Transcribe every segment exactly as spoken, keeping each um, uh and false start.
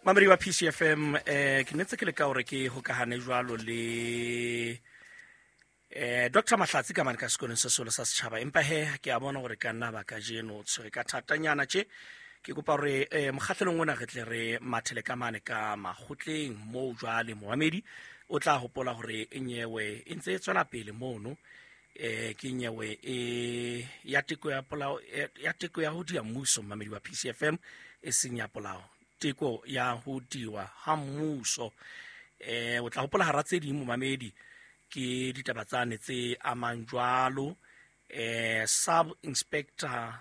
Mamedi wa P C F M, eh ke netse ke le ka hore ke hokahane jwalo le eh Doctor Mahlatsi ka mane ka sekolong se seholo sa setjhaba, empa he ke a bona hore ka nna ba kajeno tshwere ka thatanyana tje. Ke kopa hore eh mokgahlelong ona re tle re mathele ka mane ka makgotleng moo jwale momamedi o tla hopola hore nyewe e ntse e tswela pele mono, eh ke nyewe e ya teko ya polao, ya teko ya ho dia mmuso, momamedi wa P C F M, e seng ya polao, teko ya ho diwa ha mmuso. Eh o tla hopola hara tse ding momamedi ke ditaba tsane tse amang jwalo eh sub inspector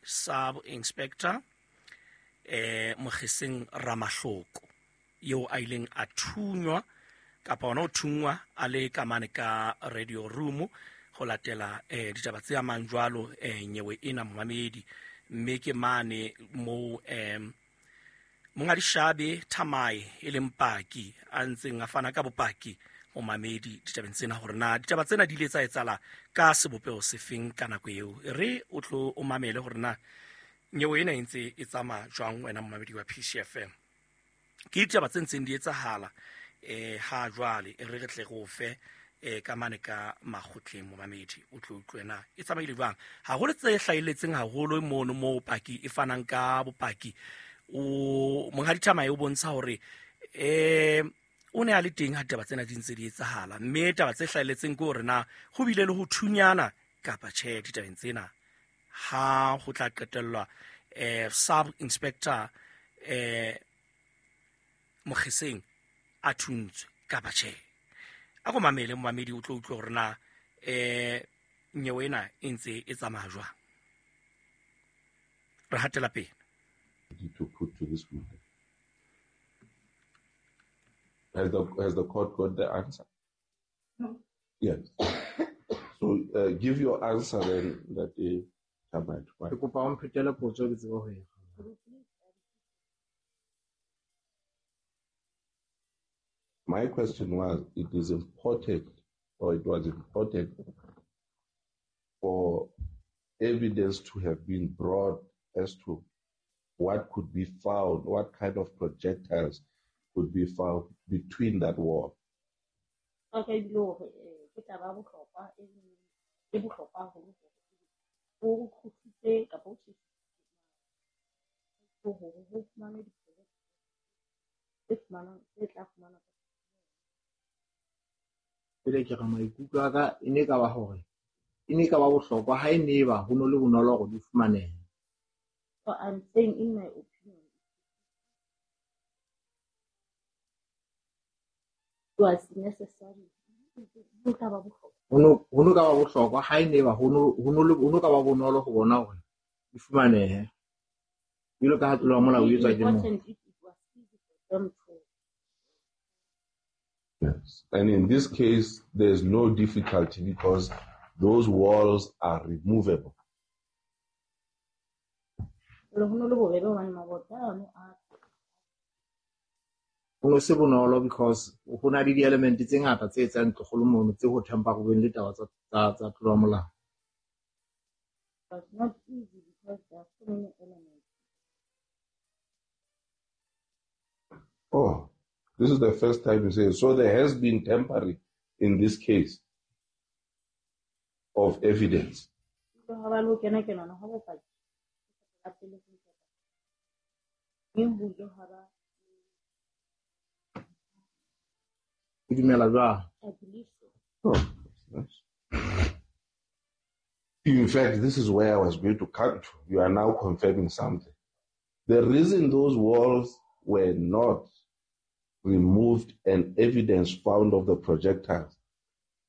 sub inspector eh Mogeseng Ramahloko eo a ileng a thunywa kapa ona o thungwa a le ka mane ka radio room ho latela eh ditaba tse amang jwalo eh nyewe ena momamedi. Mme ke mane mo eh Monghadi Shabe Thamae e leng paki a ntseng a fana ka bopaki momamedi ditabeng tsena hore na ditaba tsena di ile tsa etsahala ka sebopeho sefeng ka nako eo. Re o tlo o mamele hore na nyewe ena e ntse e tsamaya jwang wena momamedi wa P C F M. Ke ditaba tse ntseng di etsahala eh ha jwale, e re re tle re o fe eh ka mane ka makgotleng momamedi o tlo utlwe na e tsamaile jwang. Haholo tse hlahelletseng haholo mono moo paki e fanang ka bopaki, o Monghadi Thamae o bontsha hore eh o ne a le teng ha ditaba tsena di ntse di etsahala, mme taba tse hlahelletseng ke hore na ho bile le ho thunyana kapa tjhe ditabeng tsena ha ho tla qetellwa eh sub inspector eh Mogeseng a thuntswe kapa tjhe. A ko mamele momamedi o tlo utlwe hore na eh nyewe ena e ntse e tsamaya jwang. Re hatela pele. To put to this witness. Has the, has the court got the answer? No. Yes. So uh, give your answer then. That is. Ke kopa o mphetele potso ke tsebe ho e. My question was, it is important, or it was important for evidence to have been brought as to what could be found, what kind of projectiles could be found between that wall. Okay, ke taba bohlokwa e bohlokwa haholo o kgutlise kapa o hore ho fumanwe tse fumanwang tse tla fumanwa. Pele ke re maikutlo a ka e ne ka ba hore e ne ka ba bohlokwa ha e ne ba ho no le bonolo hore di fumanehe. So I'm saying in my opinion it was necessary. Ho ka ba bohlokwa. Ho no ho no ka ba bohlokwa ha e ne ba ho no ho no ho no ka ba bonolo ho bona hore di fumanehe. Jwalo ka ha tlolo ya molao e etswa ke motho. Yes. And in this case, there's no difficulty because those walls are removable. Ho no se bonolo because ho na le di-element tse ngata tse etsang ntlo mono tse ho thampa-ruweng le taba tsa tsa tlolo ya molao. It's not easy because there are so many elements. Oh, this is the first time you say it. So there has been tampering in this case of evidence. Oh, that's nice. In fact, this is where I was going to come to. You are now confirming something. The reason those walls were not removed and evidence found of the projectiles,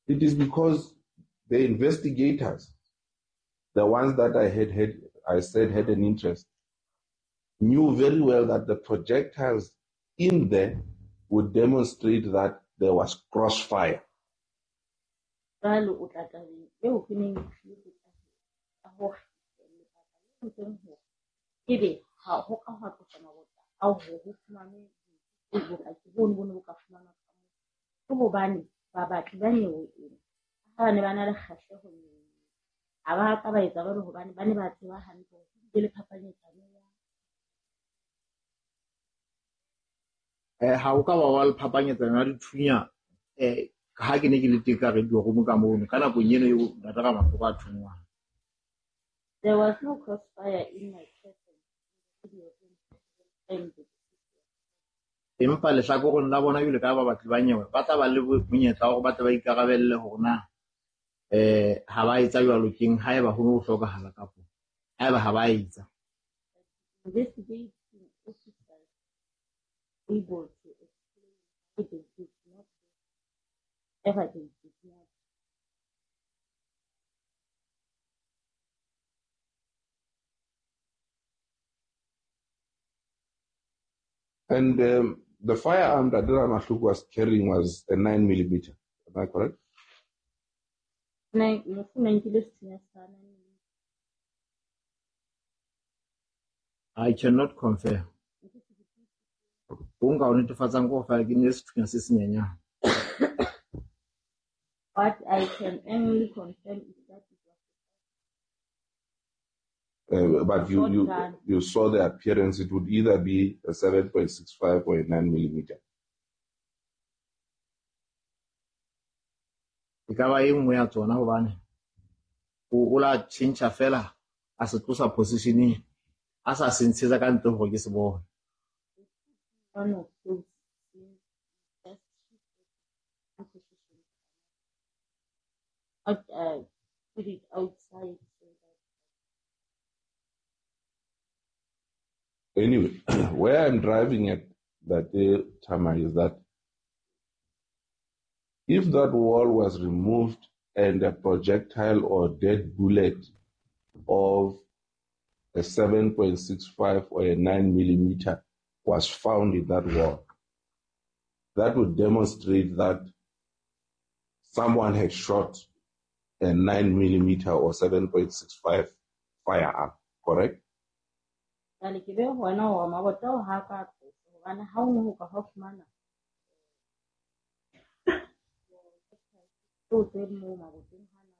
it is because the investigators, the ones that I had, had I said had an interest, knew very well that the projectiles in there would demonstrate that there was crossfire. Eh, ha o ka ba wa le phapanyetsano ya dithunya eh ha ke ne ke le teng ka radio room ka mono ka nakong eno eo Ntate Ramahloko a thunngwang. There was no crossfire in my presence in the radio room at the time the deceased was Empa lehlakoreng la bona jwalo ka ba batli ba nyewe ba tla ba le monyetla wa hore ba tle ba ikarabelle hore na eh ha ba etsa jwalo keng haeba ho no hlokahala kapo haeba ha ba etsa. Investigating officers able to explain why they did not ever they did not. And um, the firearm that Ramahloko was carrying was a nine millimeter. Am I correct? Nine, mofu o nkile sethunya sa nine millimeter. I cannot confirm. Ho nka o netefatsang ke hore feela ke ne sethunya se senyenyane. What I can only confirm is that it was Uh, but you, you, shotgun. you saw the appearance. It would either be a seven point six five or a nine millimeter. E ka ba e nngwe ya tsona hobane o o la tjhentjha fela a se tlosa positioning a sa se ntshetsa ka ntle hore ke se bone. One of those things just shifted one position to another. Not uh, put it outside so that Anyway, where I'm driving at that day, Tama, is that if that wall was removed and a projectile or dead bullet of a seven point six five or a nine millimeter was found in that wall, that would demonstrate that someone had shot a nine millimeter or seven point six five firearm, correct? Jwale ke be hona hore mabota ao ha ka tloswa hobane ha o no ho ka ha fumana tseo tse moo maboteng hana.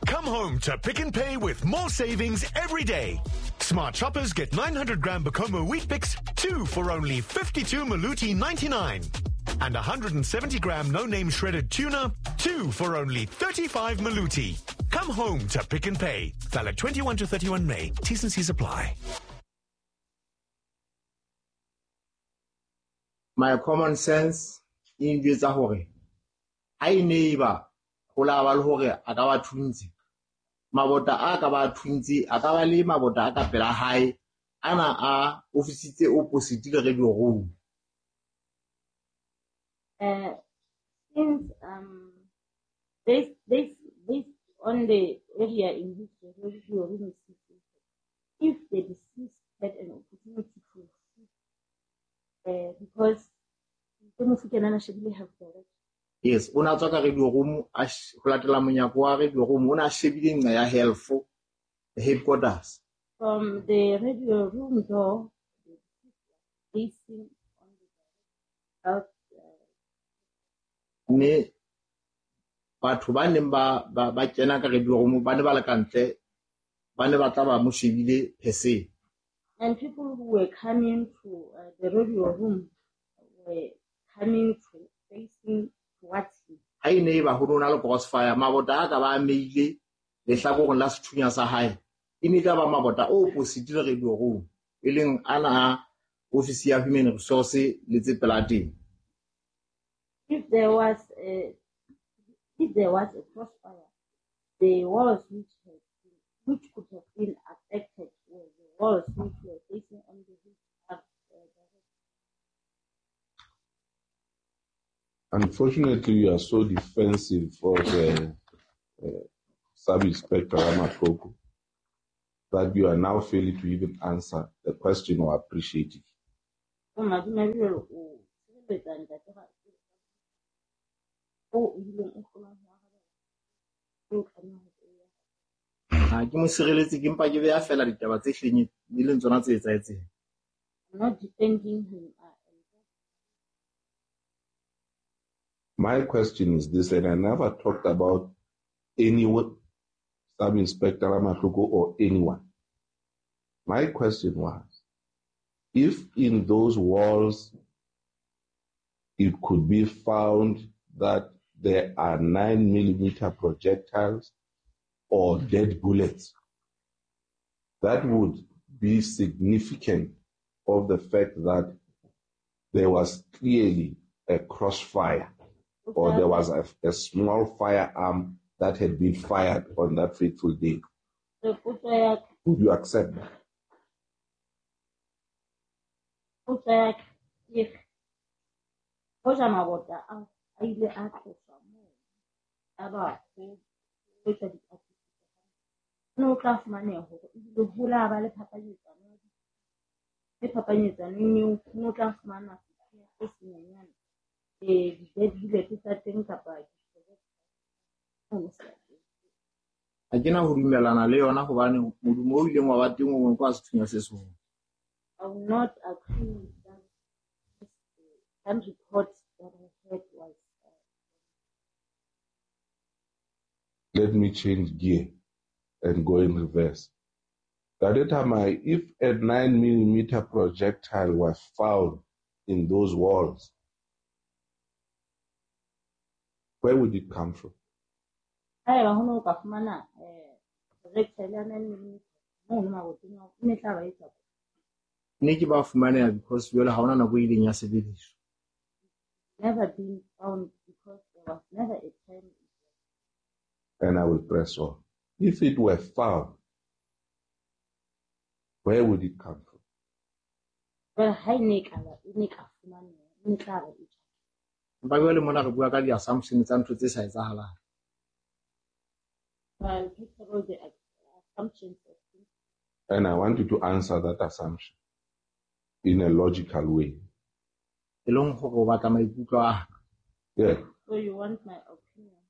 Come home to Pick n Pay with more savings every day. Smart shoppers get nine hundred gram Bokomo Wheat Bix, two for only fifty-two Maluti ninety-nine. And a hundred and seventy gram no-name shredded tuna, two for only thirty-five Maluti. Come home to Pick n Pay. Valid twenty-one to thirty-one May. T's and C's apply. My common sense e njwetsa hore ha e ne eba ho la ba le hore a ka ba thuntse, mabota a ka ba thuntse, a ka ba le mabota a ka pela hae ana a ofisi tse opposite le radio room. Uh, since, um, based, based, based on the area in which the radio room is situated, if the deceased had an opportunity to shoot, uh, because the mofu ke nana shebile have direct. Yes, o na tswa ka radio room, a sh-, ho latela monyako wa radio room, o na shebile nqa ya health headquarters. From the radio room door, the deceased was facing on the health. Mme batho ba neng ba, ba, ba kena ka radio room ba ne ba le ka ntle, ba ne ba tla ba mo shebile per se. And people who were coming to, uh, the radio room were coming to facing towards him. Ha e ne e ba ho no na le crossfire, mabota a ka ba ameile lehlakoreng la sethunya sa hae, e ne e tla ba mabota o opposite le radio room, e leng ana a ofisi ya human resource le tse pela teng. If there was a, if there was a crossfire, the walls which had been, which could have been affected were the walls which were facing on the roof of the Unfortunately, you are so defensive of, uh, uh, Sub-Inspector Ramahloko that you are now failing to even answer the question or appreciate it. Oh, madimabe jwale o tshireletsa ntate ga o ileng o hlolang ho arabela, o tlameha ho e Ha ke mo sireletse, ke mpa ke beha feela ditaba tse hlileng e leng tsona tse etsahetseng. I'm not defending him. My question is this, and I never talked about anyone, Sub-Inspector Ramahloko or anyone. My question was, if in those walls it could be found that there are nine millimeter projectiles or dead bullets, that would be significant of the fact that there was clearly a crossfire, or there was a, a small firearm that had been fired on that fateful day. So potso ya ka Would you accept that? Potso ya ka ke re, hoja mabota ao a ile a tloswa moo, ya ba ho etswa dipatlisiso, ho ne ho tla fumaneha hore ebile ho la ba le phapanyetsano ya di- le phapanyetsanong eo ho ne ho tla fumanwa sethunya se senyenyane, eh, di-dead bullet tsa teng kapa mono sebakeng. Ha ke na ho dumellana le yona hobane modumo o ileng wa ba teng o mong ke wa sethunya se seholo. I will not agree with that. This, uh, gun report that I heard was uh, Let me change gear and go in reverse. Ntate Thamae, if a nine millimeter projectile was found in those walls, where would it come from? Haeba ho ne ho ka fumana eh, projectile ya nine millimeter mono maboteng ao, e ne tla ba e tswa kae? Ne ke ba fumaneha because jwale ha hona nako e ileng ya sebediswa. Never been found because there was never a time. And I will press on. If it were found, where would it come from? Jwale ha e ne e ka ba- e ne e ka fumaneha, e ne tla ba e tswa. Empa jwale mona re bua ka di-assumption tsa ntho tse sa etsahalang. Well, first of all, the assumptions of things. And I want you to answer that assumption in a logical way. E leng hore o batla maikutlo a ka. Yeah. So you want my opinion?